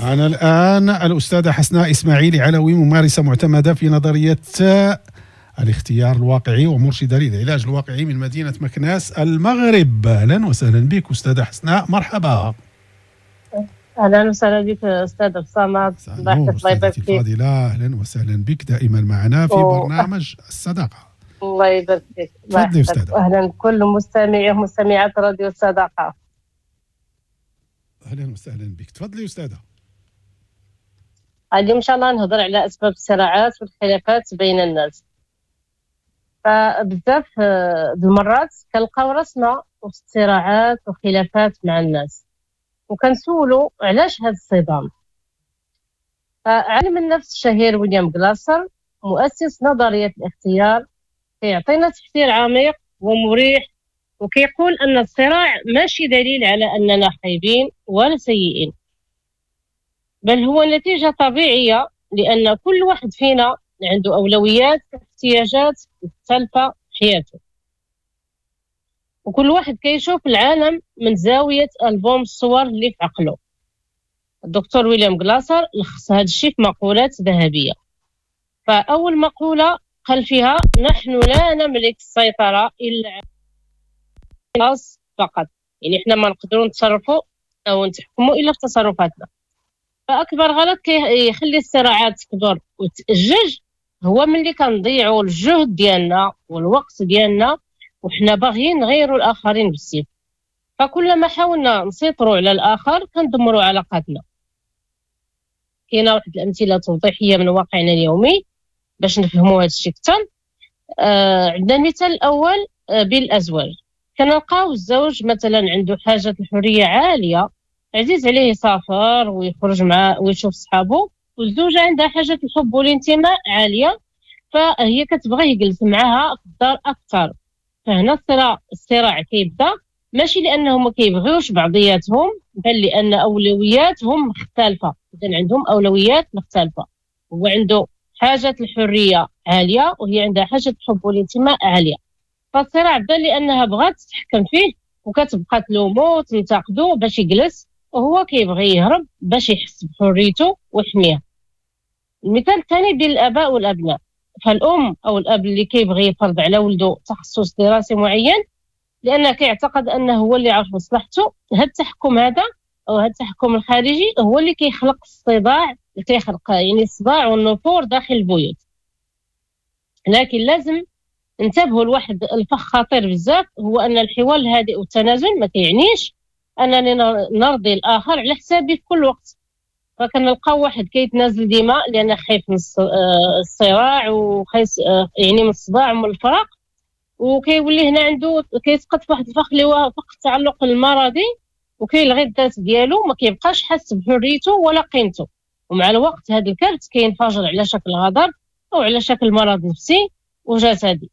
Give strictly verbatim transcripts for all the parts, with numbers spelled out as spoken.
معنا الآن الأستاذة حسناء إسماعيل علوي، ممارسة معتمدة في نظرية الاختيار الواقعي ومرشدة للعلاج الواقعي من مدينة مكناس المغرب. أهلا وسهلا بك أستاذة حسناء، مرحبا. اهلا وسهلا بك استاذ الصمد، الله يحفظك، الله يبارك فيك. الفاضلة، اهلا وسهلا بك دائما معنا في برنامج الصداقة. الله يبارك فيك. تفضلي استاذه. اهلا بكل مستمعي ومستمعات راديو الصداقة. اهلا وسهلا بك، تفضلي استاذه. اليوم ان شاء الله نهضر على اسباب الصراعات والخلافات بين الناس. فبزاف المرات كنلقاو راسنا وسط صراعات وخلافات مع الناس، وكنسولوا علاش هذا الصدام. فعالم النفس الشهير ويليام غلاسر مؤسس نظرية الاختيار كيعطينا تفسير عميق ومريح، وكيقول أن الصراع ماشي دليل على أننا خايبين ولا سيئين، بل هو نتيجة طبيعية، لأن كل واحد فينا عنده أولويات واحتياجات مختلفة في حياته، وكل واحد كيشوف العالم من زاوية ألبوم الصور اللي في عقله. الدكتور ويليام غلاسر لخص هذا الشيء في مقولات ذهبية. فأول مقولة قال فيها: نحن لا نملك السيطرة إلا على الناس فقط، يعني احنا ما نقدروا نتصرفوا أو نتحكموا إلا في تصرفاتنا. فأكبر غلط كيخلي الصراعات تكبر وتأجج هو ملي كنضيعوا الجهد ديالنا والوقت ديالنا وحنا باغيين نغيروا الآخرين بالسيف. فكلما حاولنا نسيطروا على الآخر كندمروا علاقاتنا. كاينه واحد الأمثلة توضيحية من واقعنا اليومي باش نفهموا هذا الشيء أكثر. آه عندنا المثال الأول آه بالأزواج. كنلقاو الزوج مثلا عنده حاجة الحرية عالية، عزيز عليه يسافر ويخرج مع ويشوف صحابه، والزوجة عندها حاجة الحب والانتماء عالية، فهي كتبغي يجلس معها في الدار أكثر. فهنا الصراع الصراع كيبدا ماشي لانهم ما كيبغيوش بعضياتهم، بل لان اولوياتهم مختلفة. اذا عندهم اولويات مختلفة، هو عنده حاجة الحرية عالية وهي عندها حاجة الحب والانتماء عالية. فالصراع بدا لانها بغات تتحكم فيه وكتبقى تلومو وتنتقدو باش يجلس، وهو كيبغي يهرب باش يحس بحريته ويحميها. المثال الثاني بين الاباء والابناء. فالأم أو الأب اللي كيبغي يفرض على ولده تخصص دراسي معين لأنه كيعتقد أنه هو اللي عارف مصلحته، هذا التحكم هذا أو هذا التحكم الخارجي هو اللي كيخلق الصداع، كيخلق يعني الصداع والنفور داخل البيوت. لكن لازم انتبهوا لواحد الفخ خطير بزاف، هو أن الحوار الهادئ والتنازل ما كيعنيش أنني نرضي الآخر على حسابي في كل وقت. فكنلقاو واحد كيتنازل ديما لأنه خايف من الصراع وخايف يعني من الصداع ومن الفراق، وكيولي هنا عنده كيسقط في واحد الفخ اللي هو فخ التعلق المرضي، وكيلغي الذات ديالو، ما كيبقاش حاس بحريته ولا قيمته. ومع الوقت هذا الكبت كينفجر على شكل غضب او على شكل مرض نفسي وجسدي.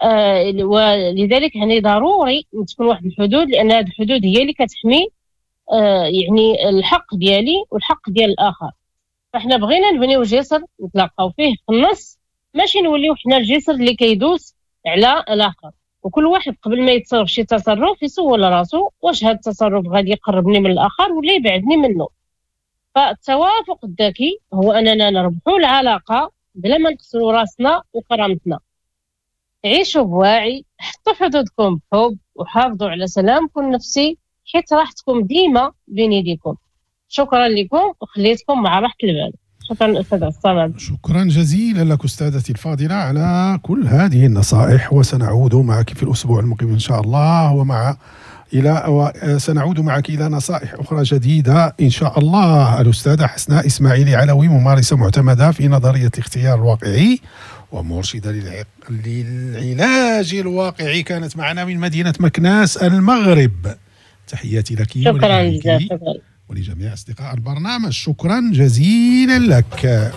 آه ولذلك يعني ضروري تكون واحد الحدود، لان هذه الحدود هي اللي كتحمي آه يعني الحق ديالي والحق ديال الاخر. فاحنا بغينا نبنيو جسر نتلاقاو فيه في النص، ماشي نوليو حنا الجسر اللي كيدوس على الاخر. وكل واحد قبل ما يتصرف شي تصرف يسول راسو واش هذا التصرف غادي يقربني من الاخر ولا يبعدني منه. فالتوافق الذكي هو اننا نربحوا العلاقة بلا ما نخسروا راسنا وكرامتنا. عيشوا بواعي، حطوا حدودكم بحب، وحافظوا على سلامكم النفسي، حيت راحتكم ديما بين يديكم. شكرا لكم وخليتكم مع راحة البال. شكرا أستاذ الصمد. شكرا جزيلا لك أستاذتي الفاضلة على كل هذه النصائح، وسنعود معك في الأسبوع المقبل إن شاء الله، ومع إلى وسنعود معك إلى نصائح أخرى جديدة إن شاء الله. الأستاذة حسناء إسماعيل علوي، ممارسة معتمدة في نظرية الاختيار الواقعي ومرشدة للعلاج الواقعي، كانت معنا من مدينة مكناس المغرب. تحياتي لك شكرا جزيلا ولجميع أصدقاء البرنامج، شكرا جزيلا لك.